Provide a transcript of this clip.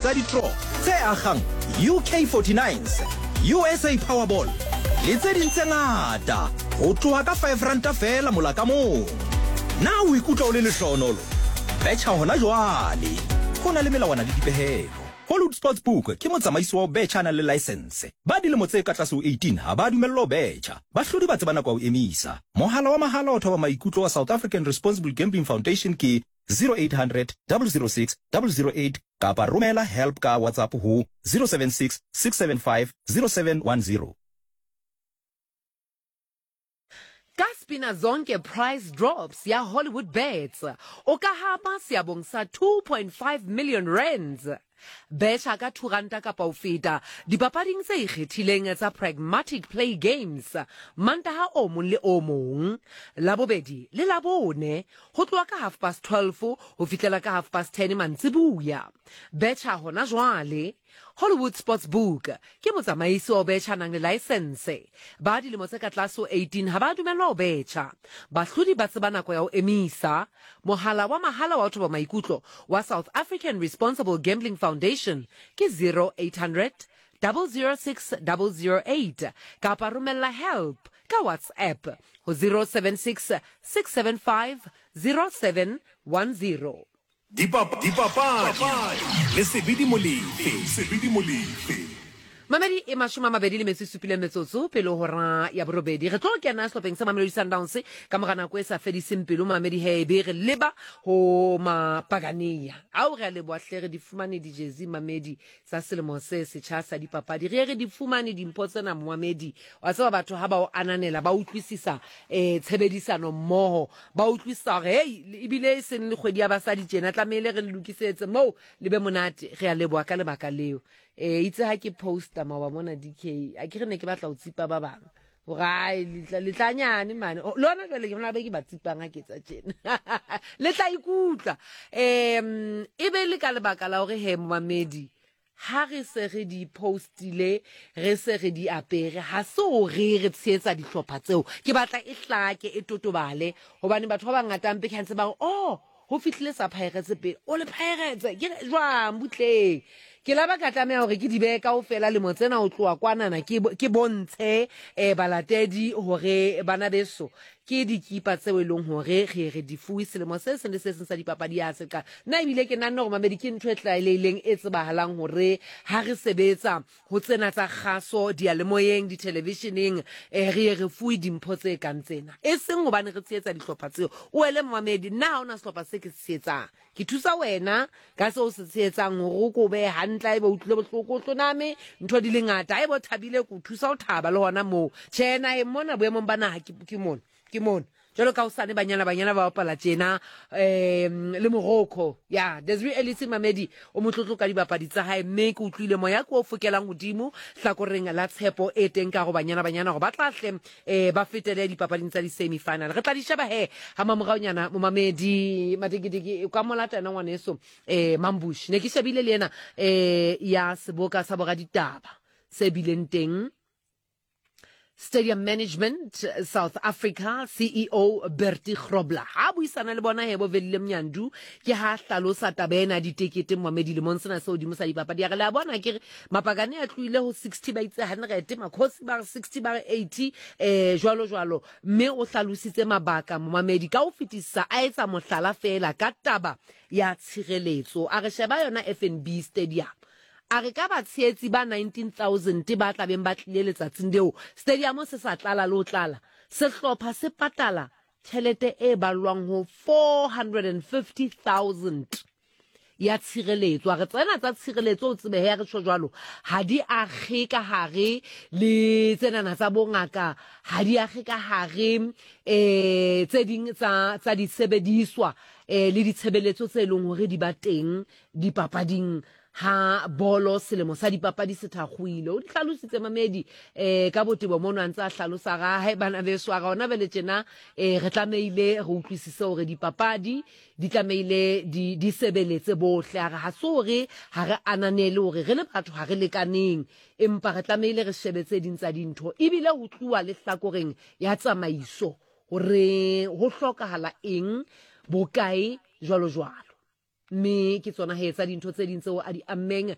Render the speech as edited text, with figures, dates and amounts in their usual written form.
tsa di-draw tse akgang UK 49s, USA Powerball le tse ding tse ngata ho tloha ka five ranta feela mola ka mong. Na o ikutlwa o le lehlohonolo? Betjha hona jwale! Ho na le melawana le dipehelo. Hollywood Sportsbook ke motsamaisi wa ho betjha a nang le laesense. Ba dilemo tse ka tlase ho 18 ha ba dumellwa ho betjha. Bahlodi ba tseba nako ya ho emisa. Mohala wa mahala wa thoba maikutlo wa South African Responsible Gambling Foundation ke 0800 006 008 kapa romela help ka WhatsApp ho 076 675 0710. Ka Spina Zonke Prize Drops ya Hollywood Bets, o ka hapa seabong sa 2.5 million rands. Betjha ka R2 kapa ho feta dipapading tse ikgethileng tsa Pragmatic Play Games Mantaha o mong le o mong, Labobedi le Labone ho tloha ka half past 12 ho fihlela ka half past 10 mantsibuya. Betjha hona jwale! Hollywood Sportsbook ke motsamaisi wa ho betjha a nang le laesense. Ba dilemo tse ka tlase ho 18 ha ba dumellwa ho betjha. Bahlodi ba tseba nako ya ho emisa. Mohala wa mahala wa ho thoba maikutlo wa South African Responsible Gambling Foundation ke 0800 006 008 kapa romella help ka WhatsApp ho 076 675 0710. Dipapadi le Sebidi Molefe. Sebidi Molefe. Mamedi e mashome a mabedi le metso e supileng metsotso pele hora ya borobedi. Re tlo kena sehlopheng sa Mamelodi Sundowns ka mora nako e sa fediseng pelo Mamedi he be re leba ho Mapagania. Ao re a leboha hle re di fumane dijezi Mamedi tsa selemo se setjha sa dipapadi. Re ye re di fumane dimpho tsena Moamedi. Wa tseba batho ha ba o ananela ba utlwisisa eh tshebedisano mmoho, ba utlwisisa hore hey ebile e seng le kgwedi ya basadi tjena tlamehile re le lokisetse moo le be monate. Re a leboha ka lebaka leo. Eh itse ha ke posta maoba mona DK, a ke re ne ke batla ho tsipa ba bang. Hore ai letlanyane mane. Le hona jwale ke bona be ke ba tsipang ha ke etsa tjena. Le tla ikutlwa. Um e be le ka lebaka la hore he momamedi ha re se re di postile re se re di apere ha se hore re tshehetsa dihlopha tseo. Ke batla e hlake e totobale hobane batho ba bangata mpe ke ha ntse ba re oh Ho fihlile sa Pirates pele. O le Pirates? Ke re jwang butleng. Ke la ba ka tlameha hore ke di behe kaofela lemo tsena ho tloha kwanana ke ke bontshe eh balatedi hore bana beso ke dikipa tseo e leng hore re re di fuwe selemo se seng le se seng sa dipapadi ya se qala. Nna ebile ke nanne hore mamedi ke ntho e tlwaelehileng e tsebahalang hore ha re sebetsa Ho tsena tsa kgaso, diyalemoyeng, dithelevisheneng, eh, re ye re fuwe dimpho tse kang tsena. E seng hobane re tshehetsa dihlopha tseo. O ele momamedi, nna ha hona sehlopha se ke se tshehetsang. Ke thusa wena ka seo o se tshehetsang hore o ko behe hantle haeba o utlwile bohloko, o hloname, ntho di le ngata. Haeba o thabile, ke o thusa ho thaba le hona moo. Tjhe, naheng mona boemong ba naha ke, ke mona. Ke mona. Jwalo ka hosane Banyana Banyana ba bapala tjena um le Morocco. Ya, Desiree Ellis Mamedi o motlotlo ka dibapadi tsa hae mme ke utlwile moya ke o fokelang hodimo hlakoreng la tshepo e teng ka go Banyana Banyana gore ba tla hle um ba fetele dipapading tsa di-semi-final. Re tla di sheba he ha mamoraonyana momamedi Mateketeke o ka mo lata yena ngwaneso um Mambush. Ne ke shebile le ena um ya seboka sa boraditaba se bileng teng Stadium Management South Africa CEO Bertie Grobler ha buisana le bona hebo Velile Mnyandu ke ha hlalosa taba ena ditekete momamedi lemong sena se hodimo sa dipapadi ya re le a bona ke re mapakane a tlohile ho 60 ba itse 100 makhosi ba re 60 ba re 80 eh jwalo jwalo mme o hlalositse mabaka momamedi ka ho fetisisa a etsa mohlala feela ka taba ya tshireletso a re sheba yona FNB Stadium A re ka batshehetsi ba 19,000 ba tla beng ba tlile letsatsing leo stadiamo se sa tlala le ho tlala, sehlopha se patala tjhelete e ballwang ho 450,000 ya tshireletso. A re tsena tsa tshireletso o tsebe he re tjho jwalo ha di akge ka hare le tsenana tsa bongaka, ha di akge ka hare eh tse ding tsa tsa disebediswa eh le ditshebeletso tse leng hore di ba teng dipapading ha bolo selemo sa dipapadi se thakgoile. O di hlalositse mamedi eh ka botebo mono a ntse a hlalosa ga hae bana beso a ga ona bele tjena eh re tlamehile re utlwisise hore dipapadi di tlamehile di di sebeletse bohle. A re ha se hore ha re ananele hore re le batho ha re lekaneng, empa re tlamehile re shebe tse ding tsa dintho ebile ho tluwa le hlakoreng ya tsamaiso hore ho hlokahala eng bokae jwalo jwalo. Mme ke tsona he tsa dintho tse ding tseo a di ammeng.